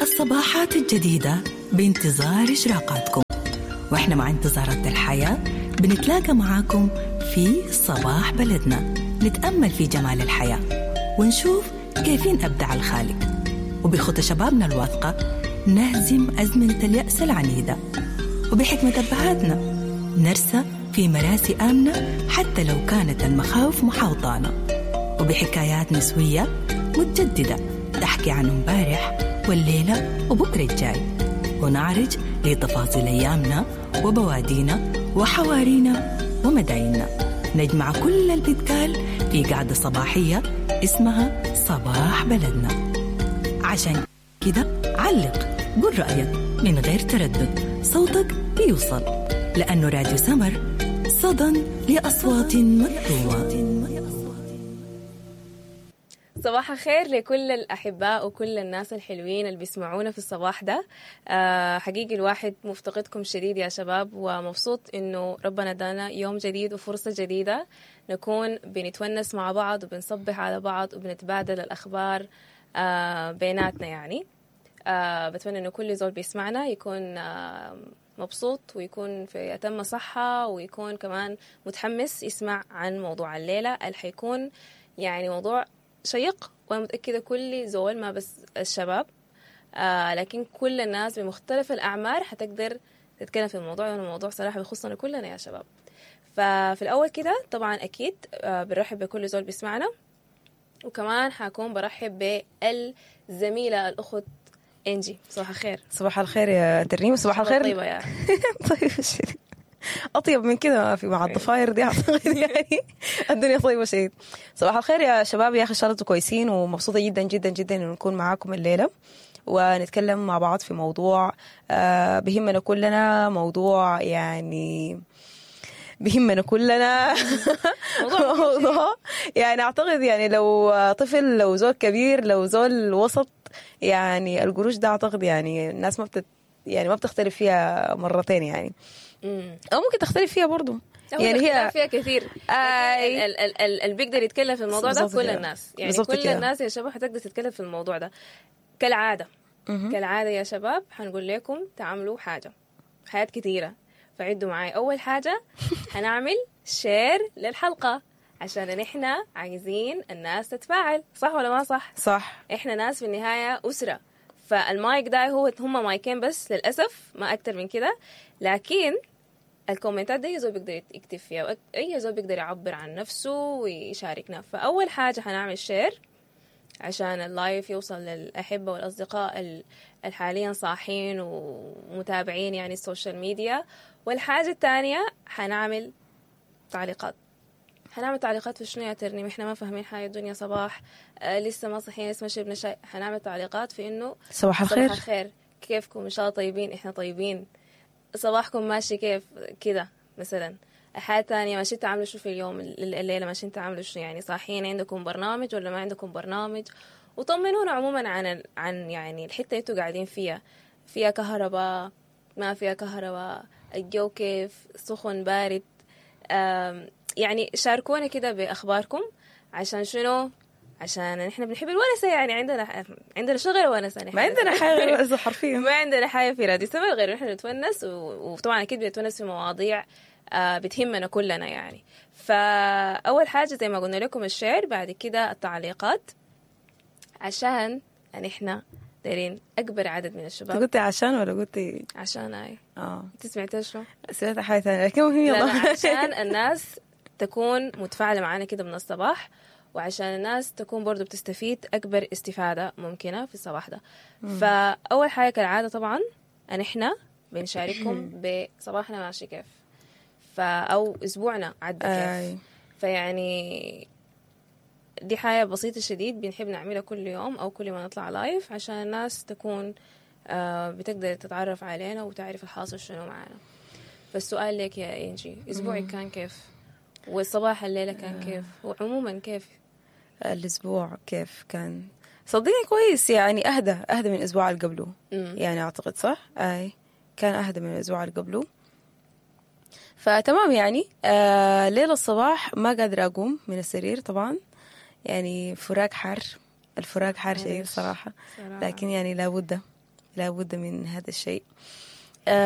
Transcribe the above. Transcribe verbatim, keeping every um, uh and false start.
الصباحات الجديدة بانتظار إشراقاتكم، وإحنا مع انتظارات الحياة بنتلاقى معاكم في صباح بلدنا، نتأمل في جمال الحياة ونشوف كيفين أبدع الخالق، وبخطى شبابنا الواثقة نهزم أزمنة اليأس العنيدة، وبحكمة أبهاتنا نرسى في مراسي آمنة حتى لو كانت المخاوف محاوطانا، وبحكايات نسوية متجددة تحكي عن امبارح والليلة وبكرة الجاي، ونعرج لتفاصيل أيامنا وبوادينا وحوارينا ومدايننا. نجمع كل اللي بيتقال في قعدة صباحية اسمها صباح بلدنا. عشان كده علق، قول رأيك من غير تردد، صوتك بيوصل، لأنه راديو سمر صدى لأصوات مكتومة. صباح الخير لكل الأحباء وكل الناس الحلوين اللي بيسمعونا في الصباح ده. آه حقيقي الواحد مفتقدكم شديد يا شباب، ومبسوط إنه ربنا ادانا يوم جديد وفرصة جديدة نكون بنتونس مع بعض وبنصبح على بعض وبنتبادل الأخبار آه بيناتنا. يعني آه بتمنى إنه كل زول بيسمعنا يكون آه مبسوط ويكون في أتم صحة ويكون كمان متحمس يسمع عن موضوع الليلة اللي حيكون يعني موضوع شيق، وأنا متأكدة كل زول ما بس الشباب آه لكن كل الناس بمختلف الأعمار حتقدر تتكلم في الموضوع، لأنه الموضوع صراحة بيخصنا كلنا يا شباب. ففي الأول كده طبعا أكيد آه بنرحب بكل زول بيسمعنا، وكمان حكون برحب بالزميلة الأخت إنجي. صباح الخير. صباح الخير يا ترنيم. صباح الخير. طيبة يا طيب شديد، أطيب من كده ما في مع الضفاير دي أعتقد، يعني الدنيا طيبة شديد. صباح الخير يا شباب، يا أخي إن شاء الله انتوا كويسين، ومبسوطة جدا جدا جدا إنه نكون معاكم الليلة ونتكلم مع بعض في موضوع آه بهمنا كلنا، موضوع يعني بهمنا كلنا موضوع يعني أعتقد يعني لو طفل، لو زول كبير، لو زول وسط، يعني القروش ده أعتقد يعني الناس ما بتت يعني ما بتختلف فيها مرتين يعني، أو ممكن تختلف فيها برضو، يعني هي فيها كثير. آه اللي بيقدر يتكلم في الموضوع ده كل الناس، يعني كل كده. الناس يا شباب حتقدر تتكلم في الموضوع ده كالعادة. مم. كالعادة يا شباب حنقول لكم تعملوا حاجة، حاجات كثيرة، فعدوا معاي. أول حاجة هنعمل share للحلقة عشان نحن عايزين الناس تتفاعل، صح ولا ما صح؟ صح. إحنا ناس في النهاية أسرة، فالمايك ده هو هما مايكين بس للأسف، ما أكتر من كده، لكن الكومنتات دي أي زول بيقدر يكتب فيها، أي زول بيقدر يعبر عن نفسه ويشاركنا. فأول حاجة هنعمل share عشان ال live يوصل للأحبة والأصدقاء الحاليا صاحين ومتابعين يعني ال social media. والحاجة الثانية هنعمل تعليقات. هنعمل تعليقات في شنو يا ترنيم؟ احنا ما فاهمين حاجة، الدنيا صباح، آه لسه ما صحينا، لسه ما شربنا شاي. هنعمل تعليقات في انه صباح الخير، صباح الخير، كيفكم، ان شاء الله طيبين، احنا طيبين، صباحكم ماشي كيف كده مثلا. حاجة ثانية، ماشيين تعملوا شو في اليوم الليلة، ماشيين تعملوا شو يعني، صاحيين عندكم برنامج ولا ما عندكم برنامج، وطمنونا عموما عن عن يعني الحتة اللي انتوا قاعدين فيها، فيها كهرباء ما فيها كهرباء، الجو كيف، سخن بارد، يعني شاركونا كده بأخباركم. عشان شنو؟ عشان نحن بنحب الونسة، يعني عندنا عندنا شغل ونسة، ما عندنا حاجة غير ونسة حرفيا، ما عندنا حاجة في راديو سمر غير نحن نتونس، وطبعا أكيد بنتونس في مواضيع بتهمنا كلنا يعني. فأول حاجة زي ما قلنا لكم ال share، بعد كده التعليقات عشان نحن دايرين أكبر عدد من الشباب. قلتي عشان ولا قلتي عشان؟ أي اه انت سمعتها شو؟ سمعت حاجة ثانية، لكن مهم يلا. عشان الناس تكون متفاعلة معنا كده من الصباح، وعشان الناس تكون برضو بتستفيد أكبر استفادة ممكنة في الصباح ده. مم. فأول حاجة كالعادة طبعا نحن بنشارككم بصباحنا ماشي كيف، فأو أسبوعنا عدى كيف. آي. فيعني دي حاجة بسيطة شديد بنحب نعملها كل يوم أو كل ما نطلع live، عشان الناس تكون آه بتقدر تتعرف علينا وتعرف الحاصل شنو معنا. فالسؤال لك يا إنجي، أسبوعك كان كيف؟ والصباح الليلة كان كيف؟ وعموما كيف الأسبوع كيف كان؟ صدقني كويس يعني، أهدى أهدى من الأسبوع اللي قبله يعني، أعتقد صح؟ أي كان أهدى من الأسبوع اللي قبله، فتمام يعني. آه ليلة الصباح ما قادرة أقوم من السرير طبعا، يعني فراق حار، الفراق حار شيء صراحة، لكن يعني لابد لابد من هذا الشيء.